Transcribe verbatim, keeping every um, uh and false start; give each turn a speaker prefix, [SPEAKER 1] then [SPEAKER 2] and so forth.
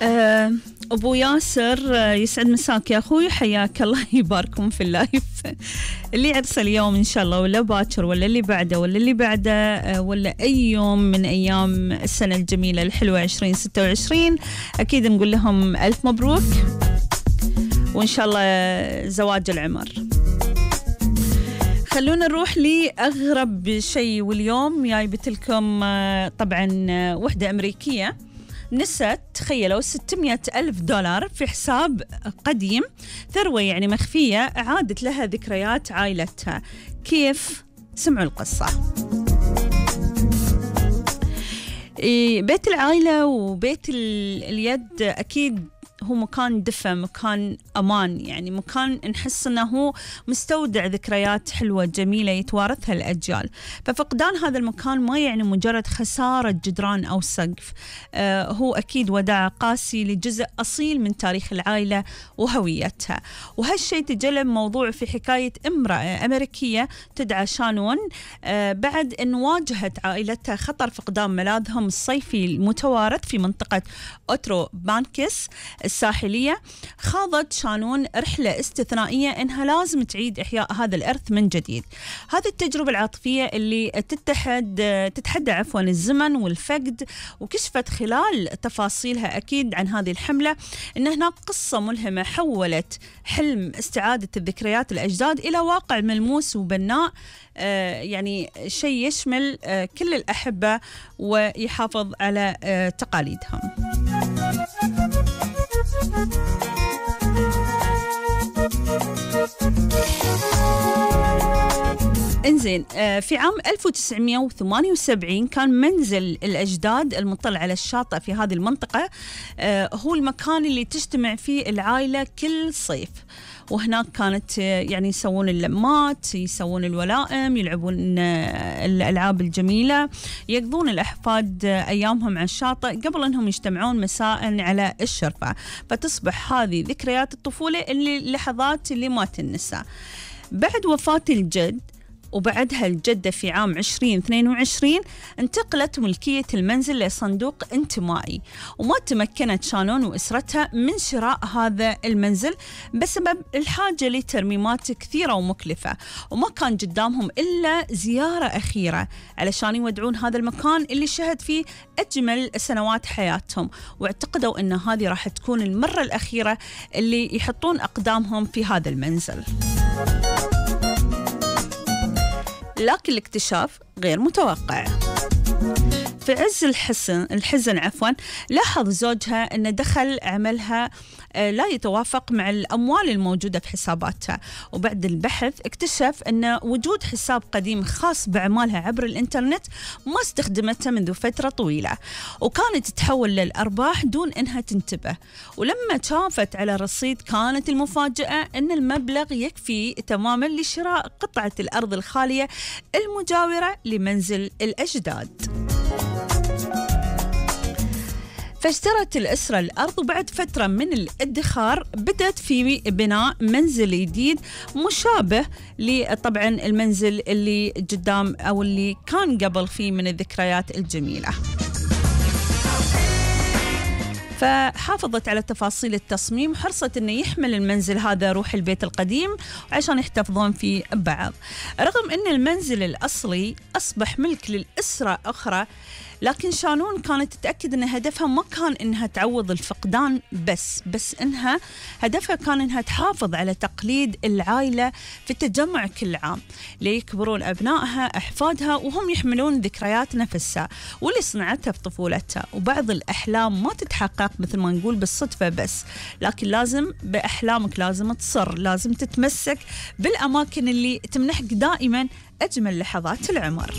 [SPEAKER 1] أه أبو ياسر، يسعد مساك يا أخوي، حياك الله، يباركم في اللايف. اللي عرسه اليوم إن شاء الله، ولا باكر، ولا اللي بعده، ولا اللي بعده، أه ولا أي يوم من أيام السنة الجميلة الحلوة عشرين ستة وعشرين، أكيد نقول لهم ألف مبروك، وإن شاء الله زواج العمر. خلونا نروح لأغرب شيء، واليوم جايبت لكم طبعا وحدة أمريكية نست، تخيلوا، ستمائة ألف دولار في حساب قديم، ثروة يعني مخفية عادت لها ذكريات عائلتها. كيف؟ سمعوا القصة. بيت العائلة وبيت اليد أكيد هو مكان دفى، مكان أمان، يعني مكان نحس أنه هو مستودع ذكريات حلوة جميلة يتوارثها الأجيال. ففقدان هذا المكان ما يعني مجرد خسارة جدران أو سقف، آه هو أكيد وداع قاسي لجزء أصيل من تاريخ العائلة وهويتها. وهالشيء تجلب موضوع في حكاية امرأة أمريكية تدعى شانون، آه بعد أن واجهت عائلتها خطر فقدان ملاذهم الصيفي المتوارث في منطقة أوترو بانكس الساحلية. خاضت شانون رحلة استثنائية إنها لازم تعيد إحياء هذا الإرث من جديد. هذه التجربة العاطفية اللي تتحد تتحدى عفوا الزمن والفقد، وكشفت خلال تفاصيلها أكيد عن هذه الحملة إن هناك قصة ملهمة حولت حلم استعادة الذكريات الأجداد إلى واقع ملموس وبناء، آه يعني شيء يشمل آه كل الأحبة ويحافظ على آه تقاليدهم. انزين، في عام ألف وتسعمائة وثمانية وسبعين كان منزل الأجداد المطل على الشاطئ في هذه المنطقة هو المكان اللي تجتمع فيه العائلة كل صيف، وهناك كانت يعني يسوون اللمات، يسوون الولائم، يلعبون الألعاب الجميلة، يقضون الأحفاد أيامهم على الشاطئ قبل أنهم يجتمعون مساء على الشرفة. فتصبح هذه ذكريات الطفولة اللي لحظات اللي ما تنسى. بعد وفاة الجد وبعدها الجدة في عام عشرين اثنين وعشرين انتقلت ملكية المنزل لصندوق انتمائي، وما تمكنت شانون وأسرتها من شراء هذا المنزل بسبب الحاجة لترميمات كثيرة ومكلفة، وما كان قدامهم إلا زيارة أخيرة علشان يودعون هذا المكان اللي شهد فيه أجمل سنوات حياتهم، واعتقدوا أن هذه راح تكون المرة الأخيرة اللي يحطون أقدامهم في هذا المنزل. لكن الاكتشاف غير متوقع. في عز الحزن الحزن عفوا لاحظ زوجها أن دخل عملها لا يتوافق مع الأموال الموجودة في حساباتها، وبعد البحث اكتشف أن وجود حساب قديم خاص بأعمالها عبر الإنترنت ما استخدمته منذ فترة طويلة، وكانت تتحول للأرباح دون أنها تنتبه. ولما شافت على الرصيد كانت المفاجأة أن المبلغ يكفي تماما لشراء قطعة الأرض الخالية المجاورة لمنزل الأجداد. فاشترت الأسرة الأرض، وبعد فترة من الادخار بدأت في بناء منزل جديد مشابه لطبعا المنزل اللي قدام أو اللي كان قبل فيه من الذكريات الجميلة. فحافظت على تفاصيل التصميم وحرصت أنه يحمل المنزل هذا روح البيت القديم عشان يحتفظون فيه بعض. رغم أن المنزل الأصلي أصبح ملك للأسرة أخرى، لكن شانون كانت تتأكد أن هدفها ما كان أنها تعوض الفقدان بس بس أنها هدفها كان أنها تحافظ على تقليد العائلة في التجمع كل عام ليكبرون أبنائها أحفادها وهم يحملون ذكريات نفسها واللي صنعتها في طفولتها. وبعض الأحلام ما تتحقق مثل ما نقول بالصدفة بس، لكن لازم بأحلامك لازم تصر، لازم تتمسك بالأماكن اللي تمنحك دائما أجمل لحظات العمر.